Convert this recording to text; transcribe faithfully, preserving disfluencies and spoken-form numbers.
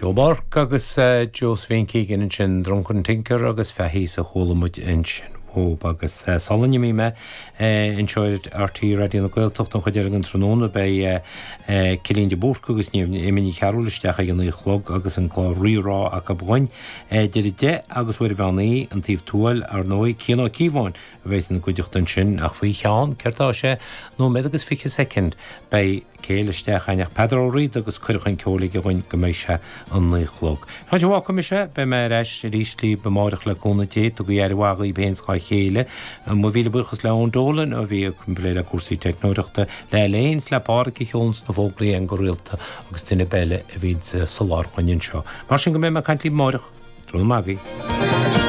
Joe Burke agus uh, Josephine Keegan ansin Drunken Tinker agus Faithí a chuala muid ansin. Ó agus uh, sula n-imím mé uh, anseo ar RTÉ Raidió na Gaeltachta an chuid eile den tráthnóna beidh uh, uh, Cillian de Búrca agus Niamh Ní Chearúil isteach ag an naoi a chlog agus an clár Rí-Rá acu againn idir deich agus uair a naoi an taobh tuail ar ndóigh Cian Ó Cíobháin a bheidh ina gcuideachta ansin ach faoi cheann céard sé nóiméad agus fiche soicind beidh céile isteach aineach Peadar Ó Riada agus cuireadh an ceol aige againn go mbeidh sé an naoi a chlog. Tá sé bhá mise beidh mé ar ais arís libh amárach le cúnamh Dé tugaigí aire mhaith daoibh féin 's dá chéile mo mhíle buíochas le Eoin Dolan a bhí ag plé le cúrsaí teicneoireachta le léin le páric a cheoln na fógraí an go rialta agus duine beile a bhíonn soláthar chugainn anseo. Mar sin go mbeidh mé ag caint libh amárach, tráthnóna maith agaibh.